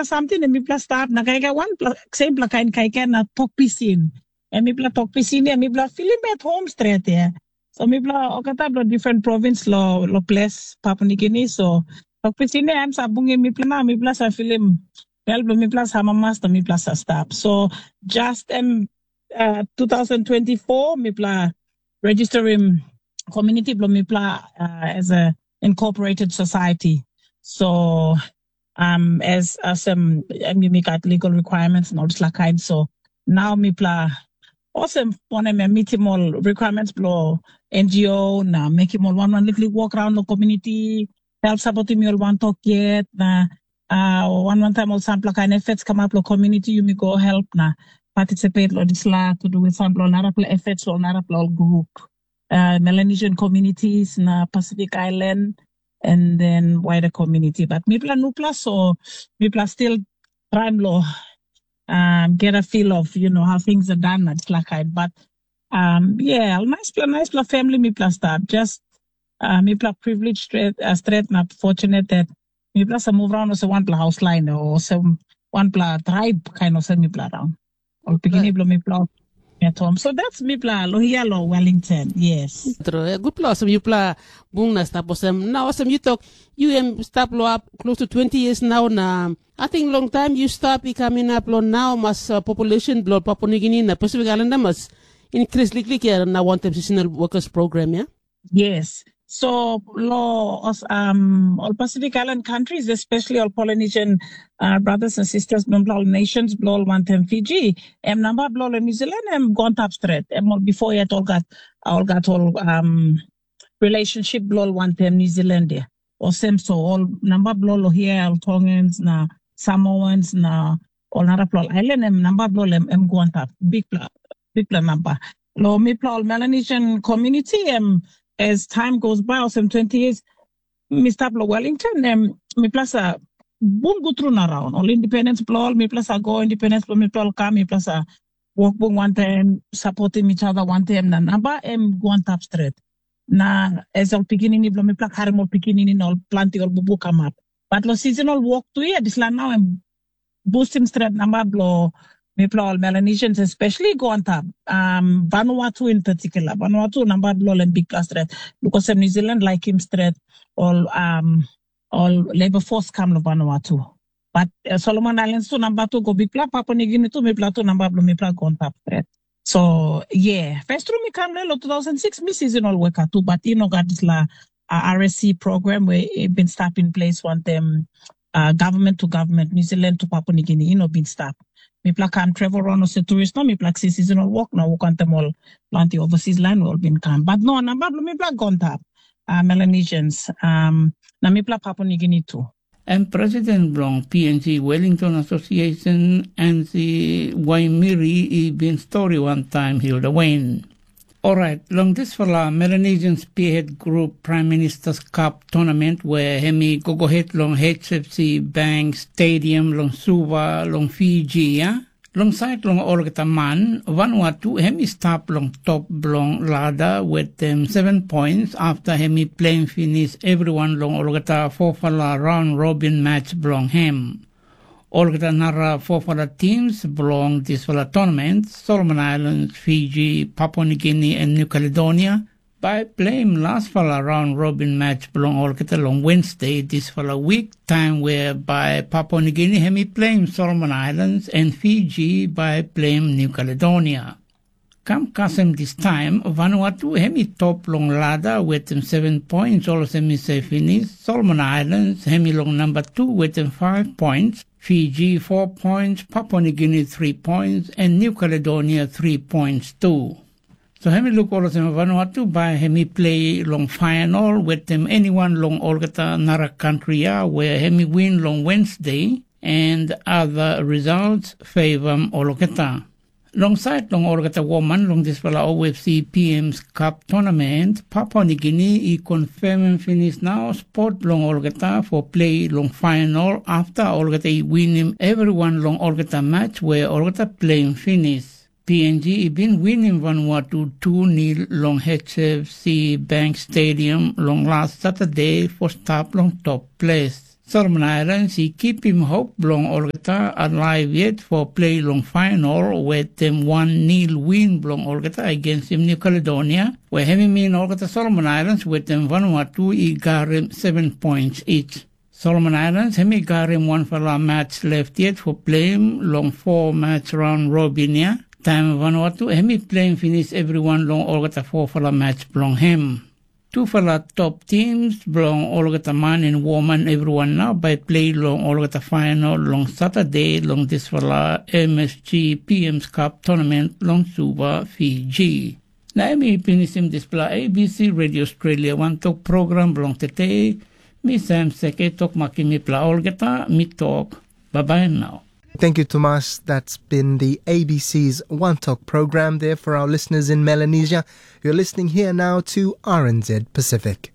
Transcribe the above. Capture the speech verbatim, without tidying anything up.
Samting na mipela stap na kaikai wanpela sempela kain kaikai na tok pisin. Em mipela tok pisin ya, mipela filim at home stret ya. So mipela olgeta bilong different province lo lo ples Papua New Guinea. So tok pisin ya em sa bungim mipela na mipela sa filim bel bilong mipela sa amamas na mipela sa stap. So just em uh, two thousand twenty-four mipela registerim community bilong mipela uh, as a incorporated society. So um, as as um, em yumi gat legal requirements and all this kind. So now mipela olsem wanem em mitim ol requirements bilong N G O na mekim ol wan wan liklik walk around lo community, help supportim ol wan tok yet na uh, wan wan taim ol sampela kain efforts kamap lo community yumi go help na participate lo disla to do with sampela ol narapela efforts lo narapela ol group. Uh, Melanesian communities na Pacific Island and then wider community. But mipela nupela so mipela still trying lo um, get a feel of you know how things are done at Slakai. But um, yeah, nice pla nice pla family mipela start. Just uh, mipela privilege straight, uh, straight na fortunate that mipela sa move around also one pla house line or some one pla tribe kind of send mipela around. Ol pikinini bilong mipela at home. So that's mipela lo here lo Wellington. Yes. True. Eh, good pla olsem yupela bung na stap olsem. Na olsem you talk, you em stap lo up close to twenty years now na I think long time you stop i coming up lo now mas uh, population bilong Papua New Guinea na Pacific Islander mas increase liklik ya na wantam seasonal workers program ya. Yes. So lo os um all Pacific Island countries, especially all Polynesian uh, brothers and sisters, bilong all nations, bilong all wantem Fiji, em namba bilong New Zealand em gone top straight. Em all before yet all got all got all um relationship bilong all wantem New Zealand ya. Or same so all namba bilong all here, all Tongans na Samoans na all narapela island em namba bilong em em gone top. Big big namba. Lo mipela ol Melanesian community em as time goes by olsem twenty years mi stap lo Wellington em mipela sa bung go tru na raun. Ol independence blo ol mipela sa go independence blo mipela ol kam mipela sa wok bung wantaim supportim each other wantaim na namba em go antap stret. Na as ol pikinini blo mipela karim ol pikinini na ol planti ol bubu kamap. But lo seasonal work tu ya dispela nau em boostim stret namba bilong mipela ol Melanesians especially go antap um, Vanuatu in particular. Vanuatu namba bilong em bikpela stret because em New Zealand laikim stret ol um, ol labor force kam lo Vanuatu. But uh, Solomon Islands tu namba tu go bikpela, Papua New Guinea tu mipela tu namba bilong mipela go antap stret. So yeah, first tru mi kam lo two thousand six mi seasonal worker tu, but you know got this la uh, R S C program where it been stop in place one them uh, government to government, New Zealand to Papua New Guinea, you know, been stop. Mipela kam travel around as a tourist, no, mipela si seasonal work, na work anthem all planti overseas land we all been come. But no, namba blo mipela gone tap, uh, Melanesians, um, na mipela Papua New Guinea too. Em president bilong P N G Wellington Association, Ansi Waimiri, i bin stori wantaim Hilda Wayne. Orait, long dispela Melanesian Spearhead Group Prime Minister's Cup Tournament where em i gogohet long H F C Bank Stadium long Suva long Fiji, ya, long sait long olgeta man, Vanuatu em i stap long top bilong lada wetem seven points afta em i pleim pinis everyone long olgeta fofala raun robin match bilong em. Olgeta nara fofala teams bilong dispela tournament, Solomon Islands, Fiji, Papua New Guinea, and New Caledonia, bai pleim laspela raun robin match bilong olgeta long Wednesday dispela wik, taim wea bai Papua New Guinea em i pleim Solomon Islands, and Fiji bai pleim New Caledonia. Kam kasem distaim, Vanuatu em i top long lada wetem seven points olsem i se pinis, Solomon Islands em i long namba tu wetem five points, Fiji four points, Papua New Guinea three points, and New Caledonia three points tu. So em i luk olsem Vanuatu bai em i plei long final wetem eniwan long olgeta nara kantri ya wea em i win long Wednesday, and other results favor olgeta. Long sait long olgeta woman long dispela O F C P M's Cup Tournament, Papua New Guinea i confirmim pinis nau spot bilong olgeta for play long final afta olgeta i winim everyone long olgeta match where olgeta playim finis. P N G i bin winim Vanuatu tu nil long H F C Bank Stadium long las Saturday for stap long top ples. Solomon Islands i kipim hop bilong olgeta alaiv yet for plei long fainol wetem wan nil win bilong olgeta against New Caledonia, where em i min olgeta Solomon Islands wetem Vanuatu i garim seven points each. Solomon Islands em i garim wanfala match left yet for pleim long four match round robin ya. Taim Vanuatu em i pleim finis everyone long olgeta four fala match bilong hem. Tufala top teams bilong olgeta man en woman everyone nau bai plei long olgeta final long Saturday long dispela M S G P M's Cup tournament long Suva, Fiji. Na em i pinisim dispela A B C Radio Australia wantok program bilong tete. Mi Sam Seke tok makim mipela olgeta, mi tok, bye bye now. Thank you, Tomas. That's been the A B C's One Talk program there for our listeners in Melanesia. You're listening here now to R N Z Pacific.